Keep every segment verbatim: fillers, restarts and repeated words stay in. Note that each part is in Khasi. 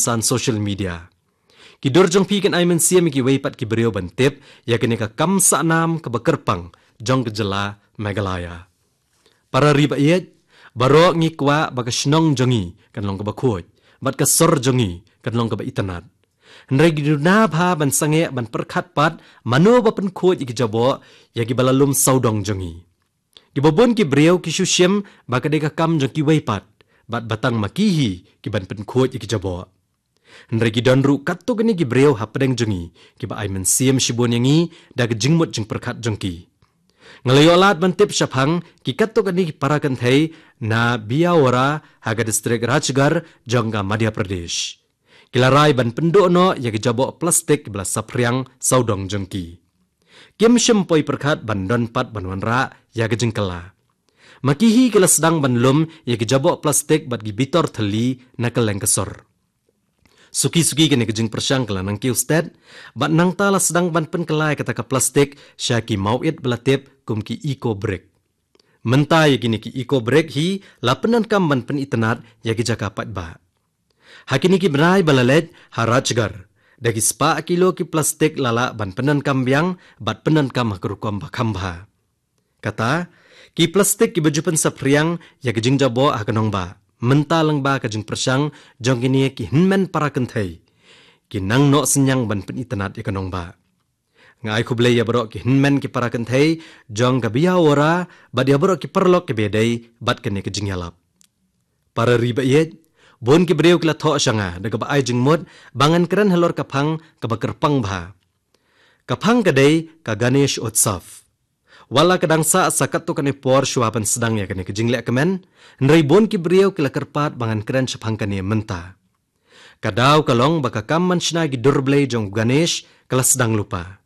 kyrtan social media. Ki dur jong phi kin ai mynsiem ïa kiwei pat ki briew ban tip ïa kane ka kam sahnam kaba kyrpang jong ka jylla Meghalaya. Para ri ba ïeit, baroh ngi kwah ba ka shnong jong ngi kan long kaba khuid, bad ka sor jong ngi kan long kaba itynnad. Hynrei ngi duna bha ban sangeh ban pyrkhat pat mano ba pynkhuid ïa ki jaboh ïa kiba la lum sawdong jong ngi. Kiba bun ki briew ki shu shim ba ka dei ka kam jong kiwei pat, bad ba tang ma ki hi ki ban pynkhuid ïa ki jaboh. Hynrei ki don ruh katto katne ki briew hapdeng jong ngi kiba ai mynsiem shibun ïa ngi da ka jingmut jingpyrkhat jong ki. Nga la ïoh lad ban tip shaphang ki katto katne ki para kynthei na Bijaywara ha ka distrik Rajgarh jong ka Madhya Pradesh. Ki la rai ban pynduh noh ïa ki jaboh plastik kiba la saphriang sawdong jong ki. Kim shym poi pyrkhat ban don pat ban wanrah ïa ka jingkylla. Ma ki hi ki la sdang ban lum ïa ki jaboh plastik bad ki bitor thylli na kylleng ka sor. Suki suki kane ka jingpyrshang ka la nang kiew stet, bad nangta la sdang ban pynkylla ïa kata ka plastik sha ki mawit ba la tip kum ki eco brick. Mynta ïa kine ki eco brick hi la pyndonkam ban pynitynnad ïa ki jaka paidbah. Ha kine ki bnai ba la leit ha Rajgarh, da ki spah kilo ki plastik la lah ban pyndonkam biang bad pyndonkam ha ka rukom ba kham bha. Kata, ki plastik kiba ju pynsaphriang ïa ka jingjaboh ha ka nongbah mynta lyngba ka jingpyrshang jong kine ki hynmen para kynthei, ki nang noh synñiang ban pynitynnad ïa ka nongbah. Nga ai khublei ïa baroh ki hynmen ki para kynthei jong ka Bijaywara bad ïa baroh ki paralok kiba ïadei bad kane ka jingïalap. Para ri ba ïeit, bun ki briew ki la thoh sha nga da kaba ai jingmut ba ngan kren halor ka phang kaba kyrpang bha. Ka phang ka dei ka Ganesh Utsav. Wat la ka dang sah sa katto katne por shuwa ban sdang ïa kane ka jingleh kmen, hynrei bun ki briew ki la kyrpad ba ngan kren shaphang kane mynta. Ka daw ka long ba ka kam ban shna ki dur blei jong u Ganesh ka la sdang lypa.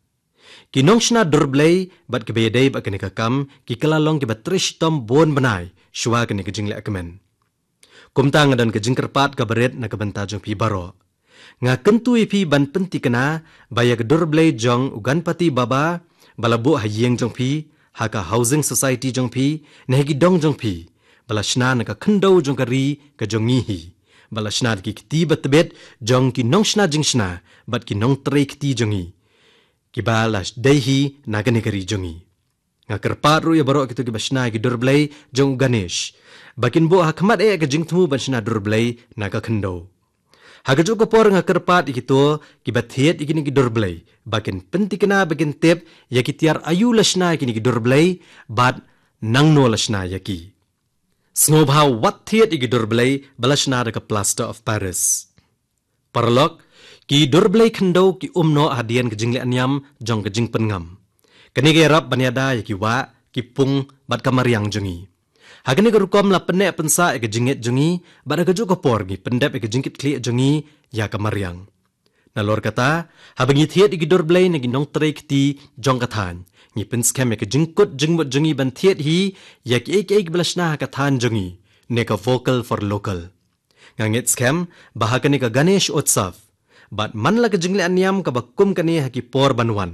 Ki nongshna dur blei bad kiba ïadei bad kane ka kam ki kylla long kiba trei shitom bun bnai shuwa kane ka jingleh kmen. Kumta nga don ka jingkyrpad kaba rit na ka bynta jong phi baroh. Nga kyntu ïa phi ban pyntikna ba ïa ka dur blei jong u Ganpati Baba ba la buh ha ïing jong phi, ha ka housing society jong phi, ne ha ki dong jong phi, ba la shna na ka khyndew jong ka ri ka jong ngi hi, ba la shna da ki kti ba tbit jong ki nongshna jingshna bad ki nongtrei kti jong ngi, kiba la dei hi na kane ka ri jong ngi. Nga kyrpad ruh ïa baroh kito kiba shna ïa ki dur blei jong u Ganesh ba kin buh ha khmat eh ka jingthmu ban shna dur blei na ka khyndew. Ha kajuh ka por nga kyrpad ïa kito kiba thied ïa kine ki dur blei ba kin pyntikna, ba kin tip ïa ki tiar aïu la shna ïa kine ki dur blei bad nangno la shna ïa ki. Sngewbha wat thied ïa ki dur blei ba la shna da ka plaster of Paris. Paralok, ki dur blei khyndew ki um noh hadien ka jingleh niam jong ka jingpynngam. Kane ka ïarap ban ïada ïa ki wah, ki pung bad ka mariang jong ngi. Ha kane ka rukom la pynneh pynsah ïa ka jingngeit jong ngi bad ha kajuh ka por ngi pyndep ïa ka jingkitkhlieh jong ngi ïa ka mariang. Nalor kata, haba ngi thied ïa ki dur blei na ki nongtrei kti jong ka thaiñ, ngi pynskhem ïa ka jingkut jingmut jong ngi ban thied hi ïa kiei kiei kiba la shna ha ka thaiñ jong ngi, ne ka vocal for local. Nga ngeit skhem ba ha kane ka Ganesh Utsav bad man la ka jingleh niam kaba kum kane ha ki por ban wan,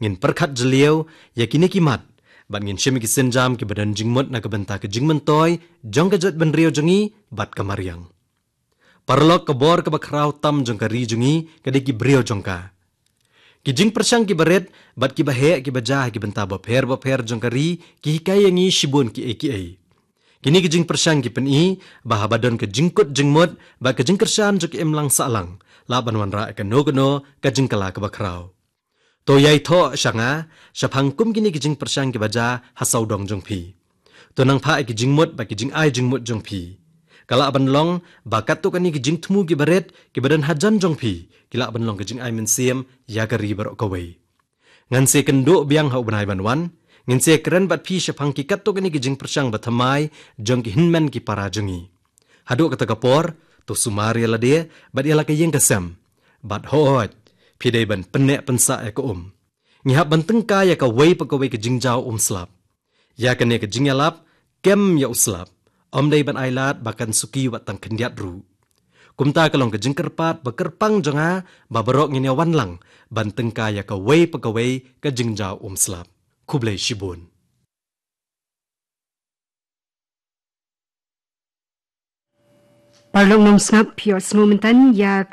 ngin pyrkhat jylliew ïa kine ki mat bad ngin shim ïa ki sienjam kiba don jingmut na ka bynta ka jingmyntoi jong ka jaitbynriew jong ngi bad ka mariang. Paralok, ka bor kaba khraw tam jong ka ri jong ngi ka dei ki briew jong ka. Ki jingpyrshang kiba rit bad kiba heh kiba jia ha ki bynta bapher bapher jong ka ri ki hikai ïa ngi shibun kiei kiei. Kine ki jingpyrshang ki pyni ba haba don ka jingkut jingmut bad ka jingkyrshan jong ka imlang sahlang, lah ban wanrah ïa kano kano ka jingkylla kaba khraw. To ïai thoh sha nga shaphang kum kine ki jingpyrshang kiba jia ha sawdong jong phi. To nang phah ïa ki jingmut bad ki jingai jingmut jong phi. Ka lah ban long ba katto katne ki jingthmu kiba rit kiba don hajan jong phi ki lah ban long ka jingai mynsiem ïa ka ri baroh kawei. Ngan sa ïakynduh biang ha u bnai ban wan, ngin sa ïakren bad phi shaphang ki katto katne ki jingpyrshang ba thymmai jong ki hynmen ki para jong ngi. Haduh kata ka por, to sumar ïa lade bad ïa la ka ïing ka sem. Bad hooid, phi dei ban pynneh pynsah ïa ka um. Ngi hap ban tyngkai ïa kawei pa kawei ka jingjaw um slap. Ïa kane ka jingïalap, kem ïa u slap, ym dei ban ailad ba kan suki wat tang khyndiat ruh. Kumta ka long ka jingkyrpad ba kyrpang jong nga ba baroh ngin ïa wan lang ban tyngkai ïa kawei pa kawei ka jingjaw um slap. Khublei shibun. Paralok nongsngap, phi ïohsngew mynta ïa